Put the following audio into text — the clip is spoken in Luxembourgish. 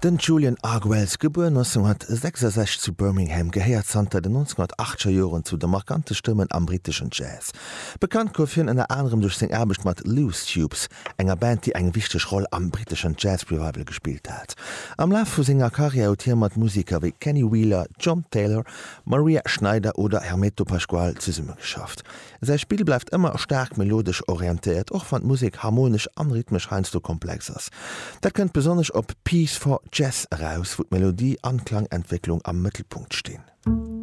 Den Julian Argwells, gebuer 1966 zu Birmingham, gehéiert zanter den 1980er Joren zu de markante Stëmmen am britteschen Jazz. Bekannt gouf hien ënner anerem duerch seng Aarbecht mat Loose Tubes, enger Band déi eng wichteg Roll am britteschen Jazz-Revival gespillt hat. Am Laf vu senger Karriär huet hie mat Museker wéi Kenny Wheeler, John Taylor, Maria Schneider oder Hermeto Pascoal zesummegeschafft. Säi Spill bleift ëmmer staark melodesch orientéiert, och wann d'Musek harmonesch an rhythmesch heiansdo komplex ass. Dat kënnt besonnesch op Piece for Jazz eraus, wou d'Melodie an d'Klangentwécklung am Mëttelpunkt stinn.